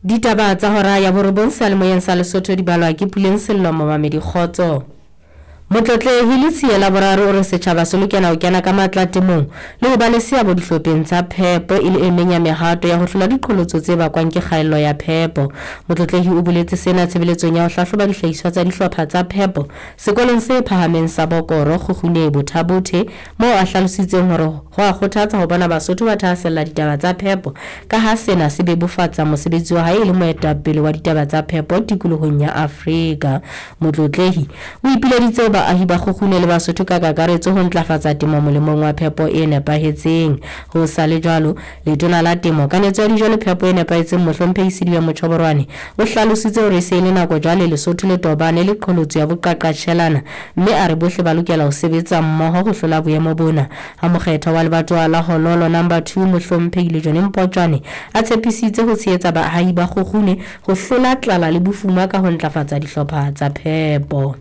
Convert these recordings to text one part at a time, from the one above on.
Ditaba tsa hora ya borobong seyalemoyeng sa Lesotho di balwa ke Puleng Sello Momamedi Kgotso. Motlotlehi Letsie Laboraro o re setjhaba se lokela ho kena ka matla temong le ho ba le seabo dihlopheng tsa phepo e le e meng ya mehato ya ho hlola diqholotso tse bakwang ke kgaello ya phepo. Motlotlehi o boletse sena tshebeletsong ya ho hlahloba dihlahiswa tsa dihlopha tsa phepo sekolong se phahameng sa Bokoro, Kgukgune, Botha-Bothe moo a hlalositseng hore ho a kgothatsa ho bona Basotho ba thahasella ditaba tsa phepo ka ha sena se bebofatsa mosebetsi wa hae e le moetapele wa ditaba tsa phepo tikolohong ya Afrika. Motlotlehi o ipileditse ho baahi ba Kgukgune le Basotho ka kakaretso ho ntlafatsa temo molemong wa phepo e nepahetseng. Ho sa le jwalo, Letona la Temo, Kanetso ya Dijo le Phepo e Nepahetseng Mohlomphehi Sedibe Mochoborwane o hlalositse hore e se e le nako jwale Lesotho le tobane le qholotso ya boqaqatjhelana mme a re bohle ba lokela ho sebetsa mmoho ho hlola boemo bona. Ha mokgethwa wa lebatowa la Hololo Number Two Mohlomphehi Lejone Mpotjwane a tshepisitse ho tshehetsa baahi ba Kgukgune ho hlola tlala le bofuma ka ho ntlafatsa dihlopha tsa phepo.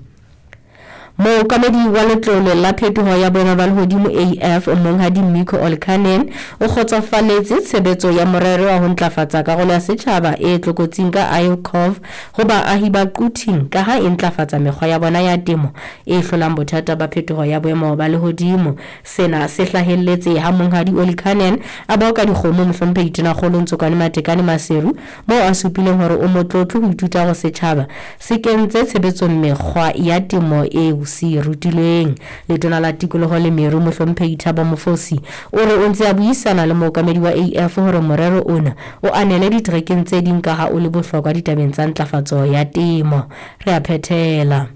Mookamedi wa Letlole la Phetoho ya Boemo ba Lehodimo, AF, Monghadi Mikko Olkkanen, o kgotsofaletse tshebetso ya morero wa ho ntlafatsa karolo ya setjhaba e tlokotsing ka ICOV ho baahi ba Quthing ka ha e ntlafatsa mekgwa ya bona ya temo e hlolang bothata ba phetoho ya boemo ba lehodimo. Sena se hlahelletse ha Monghadi Olkkanen a boka dikgomo Mohlomphehi Tonakgolo Ntsokwane Matekane Maseru moo a supileng hore o motlotlo ho ithuta hore setjhaba se kentse tshebetsong mekgwa ya temo eo se e rutilweng. Letona la Tikoloho le Meru, Mohlomphehi Thabo Mofosi, o re o ntse a buisana le mookamedi wa AF hore morero ona o anele diterekeng tse ding kaha o le bohlokwa ditabeng tsa ntlafatso ya temo. Re a phethela.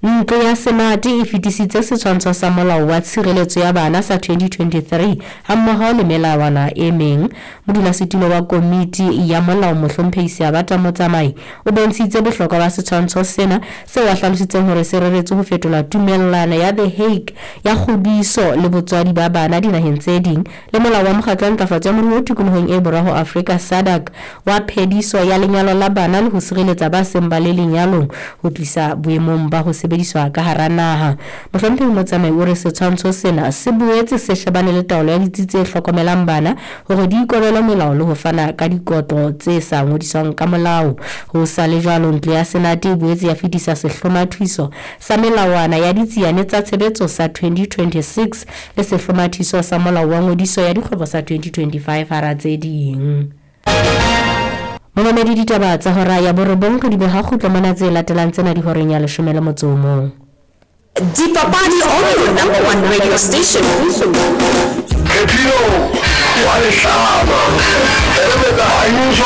Ntlo ya Senate e fetisitse setshwantsho sa Molao wa Tshireletso ya Bana sa 2023 hammoho le melawana e meng. Modulasetulo wa Komiti ya Molao Mohlomphehi Seabata Motsamai o bontshitse bohlokwa ba setshwantsho sena seo a hlalositseng hore se reretswe ho fetola Tumellano ya The Hague ya Kgodiso le Botswadi ba Bana dinaheng tse ding le Molao wa Mokgatlo wa Ntlafatso ya Moruo Tikolohong e Borwa ho Afrika, SADC, wa Phediso ya Lenyalo la Bana le ho Sireletsa ba Seng ba le Lenyalong ho tlisa boemong ba ho sebediswa ka hara naha. Mohlomphehi Motsamai o re setshwantsho sena se boetse se shebane le taolo ya ditsi tse hlokomelang bana hore di ikobele melao le ho fana ka dikotlo tse sa ngodiswang ka molao. Ho sa le jwalo, Ntlo ya Senate e boetse ya fetisa sehlomathiso sa melawana ya ditsiane tsa tshebetso sa 2026 le sehlomathiso sa Molao wa Ngodiso ya Dikgwebo sa 2025 hara tse ding. Momamedi ditaba tsa hora ya borobong re di beha kgutlo mona tse latelang tsena di horeng ya leshome le motso o mong. Dipapadi on your number one radio station. Phephilo wa lehlaba.